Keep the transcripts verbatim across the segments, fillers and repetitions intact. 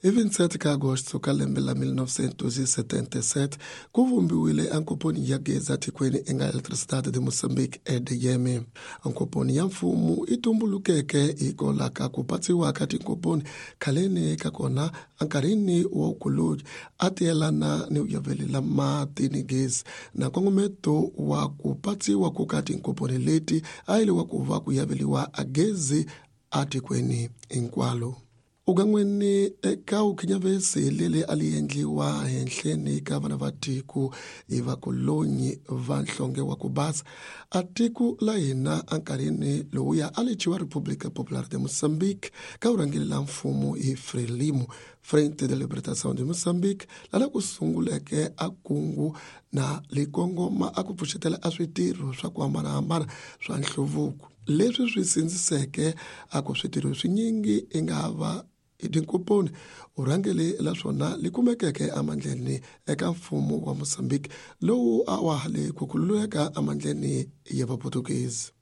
Hi vinte e sete ka Agosto ka lembe la mil novecentos e setenta e sete ku vumbiwile ankomponi ya gezi atikweni enga Eletricidade de Moçambique E D M. Ankomponi ya mfumo yi tumbulukeke hikwalaho ka ku patsiwa ka tinkomponi khaleni ka kona enkarhini wa vukoloni a ti yelana ni ku mati ni gezi, na nkongometo wa ku patsiwa ku ka tinkomponi leti a yi wa ku va ku yaveliwa a gezi atikweni hinkwalo. Ugan'weni eka vukhinyavesi leri a li endliwa henhleni ka vana va tiko hi vakolonyi va nhlonge wa ku basa a tiko la hina enkarhini lowuya a li thyiwa República Popular de Moçambique ka vurhangeri la mfumo hi Frelimo, Frente de Libertação de Moçambique, lana ku sunguleke a kungu na likongoma a ku pfuxetela a switirho swa ku hambanahambana swa nhluvuko leswi swi sindziseke a ku switirho swinyingi i nga va tinkomponi urhangeli la swona li kumekeke emandleni eka mfumo wa Mozambique lowu a wa ha le ku khululeka emandleni ya Vaportuguese.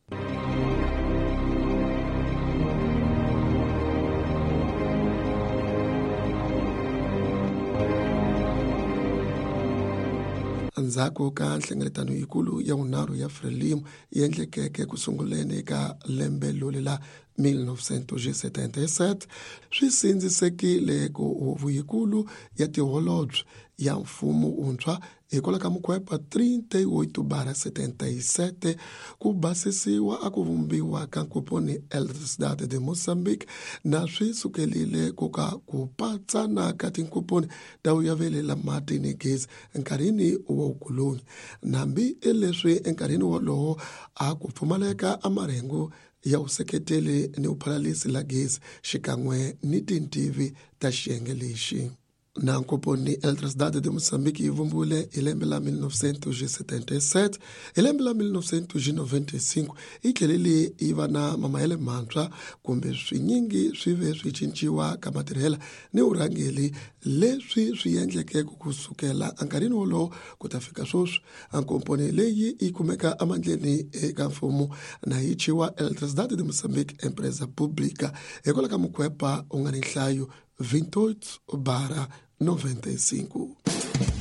Endzhaku ka nhlengeletano yikulu ya vunharhu ya Frelimo yi endlekeke ku sunguleni ka lembe loli la mil novecentos e setenta e sete, swi sindzisekile ku huvo yikulu ya tiholobye ya mfumo wuntshwa hikwalaho ka mukhwepa trinta e oito barra setenta e sete ku basisiwa a ku vumbiwa ka nkomponi Eletricidade de Moçambique, na swi sukelile ku ka ku patsana ka tinkomponi ta vuyaveli la mati ni gezi enkarhini wa vukoloni, nambi leswi enkarhini wolowo a ku pfumaleka a marhengu ya vuseketeli ni vuphalalisi la gezi xikan'we ni tintivi ta xiyenge lexi. Na nkomponi Eletricidade de Moçambique yi vumbiwile hi lembe la mil novecentos e setenta e sete. Hi lembe la mil novecentos e noventa e cinco yi tlhelele yi va na mamayele mantshwa kumbe swinyingi swi ve swi cinciwa ka matirhela ni vurhangeri, leswi swi endleke ku sukela enkarhini wolowo ku ta fika sweswi ankomponi leyi yi kumeka emandleni eka mfumo na yi thyiwa Eletricidade de Moçambique Empresa Pública hikwalaho ka mukhwepa wu nga ni nhlayo vinte e oito barra noventa e cinco.